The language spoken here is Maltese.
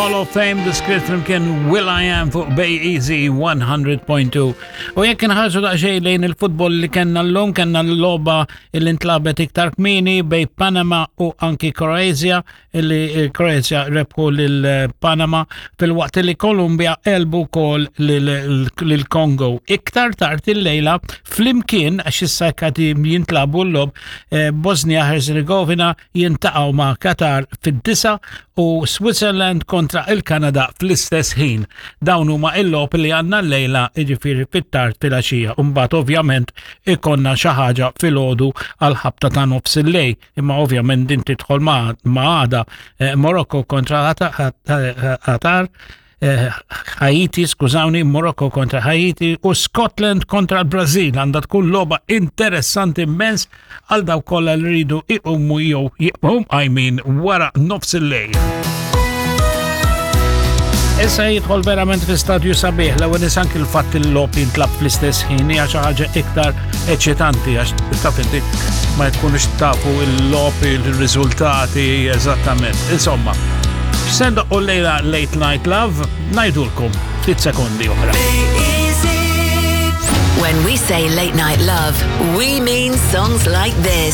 Hall of Fame The Script flimkien Will I Am fuq Bay Easy 100.2. U jekk inħarsu daqsxejn lejn il-futbol li kellna llum, kellna l-logħba li ntlabet iktar kmieni bej Panama u anki Kroazja, illi Kroazja rebħu lil Panama fil-waqt li Kolumbja elbu kol lil Kongo. Iktar tard il-lejla flimkien għax issa kati jintlabu l-lob eh, Bosnia Herzegovina jintaqgħu ma' Qatar fid-disa u Switzerland kontra il-Kanada fl-istess ħin. Dawn huma il-logħob li għandna llejla jiġifieri fit-tard filgħaxija. Imbagħad ovvjament ikonna xi ħaġa filgħodu għal ħabta ta' nofs il-lejl, imma ovvjament din tidħol ma' għada eh, Morocco kontra Qatar Eh, Haiti, skużawni, Morocco kontra Haiti u Scotland kontra l-Brazil għandha tkun logħba interessanti immens għal daw kollha li rridu iqumu jew jibqgħu qajmin wara nofs il-lejl. Issa jidħol verament fi stadju sabiħ l-ewwel nies anki l-fatt il-logħob jintlab fl-istess ħin hija xi ħaġa iktar eċitanti għax taf inti ma jkunux tafu il-logħob il-riżultati eżattament. Insomma, x'se ndoqqu lejla Late Night Love ngħidulkom ftit sekondi oħra. When we say late night love, we mean songs like this.